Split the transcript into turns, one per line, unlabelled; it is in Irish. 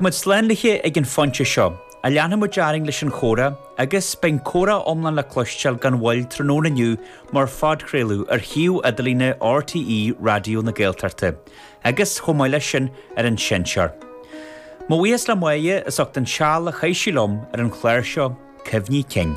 Muid slán léithe ag an phointe seo, ach leanfaidh muid orainn leis an chomhrá agus beidh an comhrá iomlán le cloisteáil gan mhoill tráthnóna inniu mar phodchraoladh ar shuíomh idirlíne RTÉ Raidió na Gaeltachta agus, chomh maith leis sin, ar an seinnteoir. Mo bhuíochas le Máire as ucht an seal a chaith sí liom ar an chlár seo, Cuimhní Cinn.